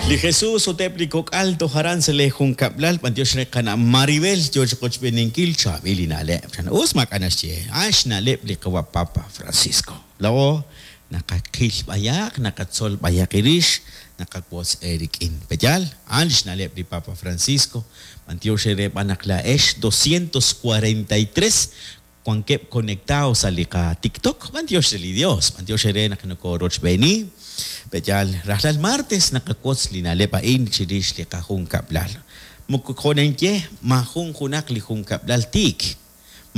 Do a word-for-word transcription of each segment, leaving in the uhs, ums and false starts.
Li Jesus ut eb' li kok'al toj aran sa' lee junkab'lal, b'antiox re qana' Maribel yoo chiqochb'eeninkil chaab'il li na'leb'. Chan us maak'a' naxye, a'an xna'leb' li qawa' Papa Francisco. Laa'o naqaqil b'ayaq, naqatzol b'ayaq irix, naqawotz eerik'in. Pe'yaal, a'an li xna'leb' li Papa Francisco. B'antiox eere b'an naq laa'ex doscientos cuarenta y tres wankeb' conectados sa' li qa-TikTok. B'antiox re li Dios, b'antiox eere naq nokorochb'eeni. Pe'yaal, rajlal martes naqawotz li na'leb' a'in chirix li qajunkab'lal. Moko jo' ninye, maajun junaq li junkab'lal tiik.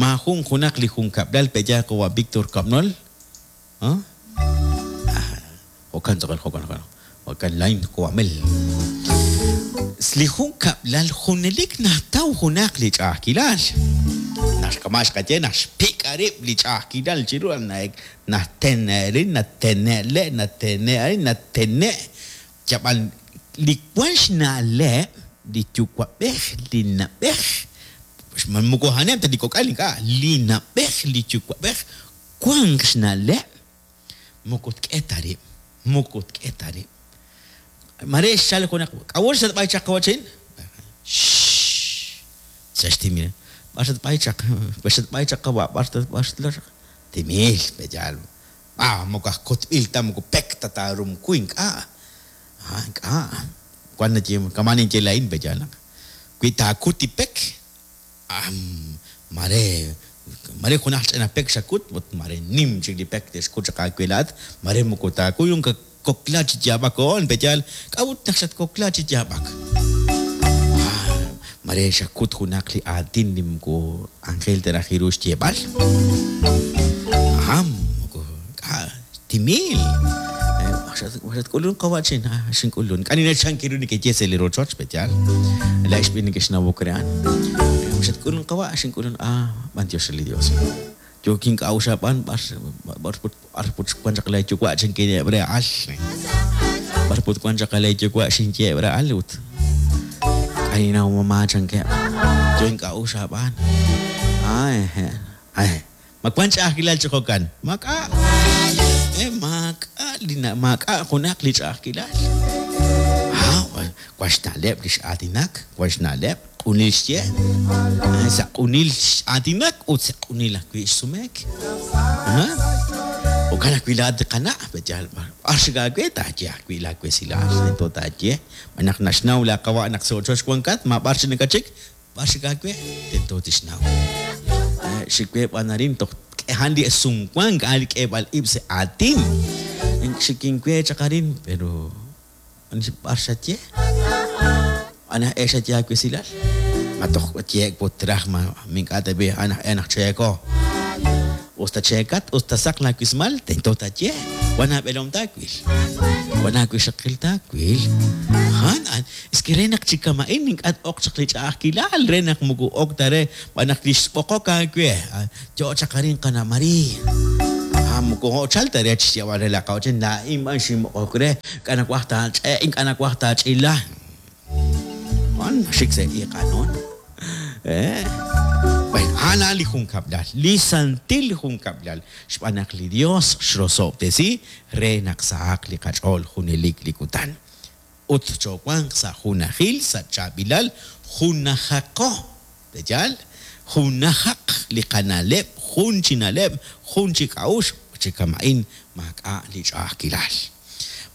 Maajun junaq li junkab'lal pe'yaal qawa' Víctor Kabnol. ¿Ah? Jo'kan tz'aqal, jo'kan, jo'kan. Jo'kan lain qwamel. Li junkab'lal junelik nataw junaq li ch'a'ajkilal. Naxk'ama xqaye naxpik' rib' li ch'a'ajkilal chiru natene'rin, natene'le, natene'rin, natene'. Yab'al li wan xna'leb' li yuwa'b'ej, li na'b'ej, moko a'aneb' ta li kok'al ink'a', li na'b'ej, li yuwa'b'ej wank xna'leb' moko tk'e ta rib', moko tk'e ta rib'. Mare xchal junaq, k'a'ut xatb'ay chaq qawachin? Shh. Sa xtimil. B'ar xatb'ay chaq, b'ar xatb'ay chaq qawa', b'ar b'ar xatb'ay chaq. Timil, pe'yaal. Ah, moko aj kutb'il ta, moko pek ta taarumku ink'a'. Ah, ink'a'. Wan naye, kama' ninye laa'in, pe'yaal naq. Wi taakut li pek, ah, mare, mare junaq ch'ina pek xakut, ut mare nim chik li pek te'xkut chaq aawe laa'at, mare moko taakuy, unka kokla chi yaab'ak oon, pe'yaal, k'a'ut naq xatkokla chi yaab'ak? Ah, mare xakut junaq li aatin li moko Ángel te raj iru xyeeb'al. Ah, moko k'a' timil. Xatk'ulun qawachin, ah, xink'ulun. K'ani nachankiru nekeye sa' li rochoch, pe'yaal. Laa'ex b'i nekexnawok re a'an. Xatk'ulun qawa', xink'ulun, ah, b'antiox li Dios. Yokin k'a'uxab'an, b'ar, b'ar put, b'ar put wan chaq lay yuwa' chinkineeb' re al. B'ar put wan chaq lay yuwa' xinyeeb' re al ut. K'ani naw mamá chankeb'. Yokin k'a'uxab'an. Ay, ay. Ma wan ch'a'ajkilal chi jo'kan? Mak'a. Eh, mak'a li na, mak'a junaq li ch'a'ajkilal. Ah, wan xna'leb' li x'aatinak, wan xna'leb' q'unil xye. Ay, sa' q'unil x'aatinak ut sa' q'unil ajwi' xsumek. Ah, jo'kan ajwi' laa'at li qana', pe'yaal, b'ar xik aawe taaye ajwi' laawesilal, tento taaye. B'an naq naxnaw laa qawa' naq sa' ochoch wankat, ma b'ar xik nakachik, b'ar xik aawe, tento tixnaw. Xik we b'an arin toj k'ehan li sumwank, a'an li k'eeb'al ib' sa' aatin. Xikin we chaq arin, pero b'ar xaye? Ana e xaye aawesilal? Ma toj yeek put raj, ma mink'a' ta b'i, ana e naq cheeko. Usta cheekat, usta saq laawismal, tento taaye. Wan aab'elom taawil. Wan aawixaqil taawil. Han, an, es que re naq chi kama'in ink'a' t-oq chaq li ch'a'ajkilal, re naq moko ok ta re, b'an naq li xb'oqok aawe. Yo chaq arin qana' María. Ah, moko jo'chal ta re chi xyeeb'al re la qawachin, laa'in b'an xinb'oqok re, ink'a' nawaj taach'e, ink'a' nawaj taach'ila. Wan, xik sa' iq'anon. Eh. Bueno, a'an li junkab'lal, li santil junkab'lal, xb'aan naq li Dios xrosob'tesi re naq sahaq li qach'ool junelik li kutan. Ut chowanq sa' junajil, sa' chaab'ilal, junajaqo. Pe'yaal? Junajaq li qana'leb', jun chi na'leb', jun chi k'a'uxl, chi kama'in maak'a' li ch'a'ajkilal.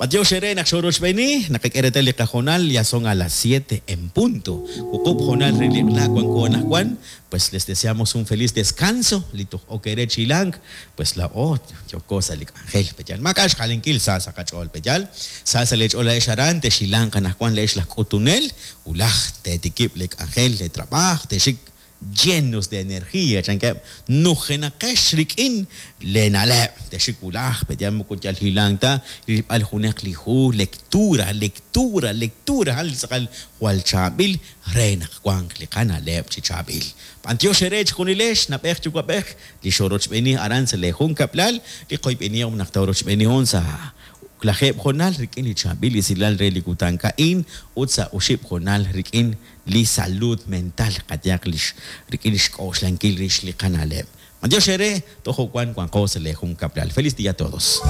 B'antiox eere naq xorochb'eeni, naqak'e reetal li qajonal, ya son a las siete en punto. Wuqub' jonal re li qla wanko anaqwan, pues les deseamos un feliz descanso, li toj ok eere chilank, pues la o yoko sa' li k'anjel, pe'yaal. Maak'a' xjalenkil sa' sa' qach'ool, pe'yaal. Sa' sa' leech'ool laa'ex aran, texilanq anaqwan leex laj k'utunel, ulaj teetikib' le k'anjel, le trabaj, texik llenos de energía, chankeb' nujenaqex rik'in le na'leb'. Texik wulaj, pe'yaal moko yal hilank ta, rilb'al junaq li hu, lectura, lectura, lectura, hal tz'aqal jwal chaab'il re naq wanq li qana'leb' chi chaab'il. B'antiox eere chijunilex, nab'ej yuwa'b'ej, li xorochb'eeni aran sa' le junkab'lal, li qoyb'enihom naq tawrochb'eenihom sa' lajeb' jonal rik'in li chaab'il esilal re li kutan ka'in ut sa' oxib' jonal rik'in li salud mental qayaq lix rik'in xk'oxlankil rix li qana'leb'. B'antiox eere, tojo wan wanqo sa' le junkab'lal. Feliz día a todos.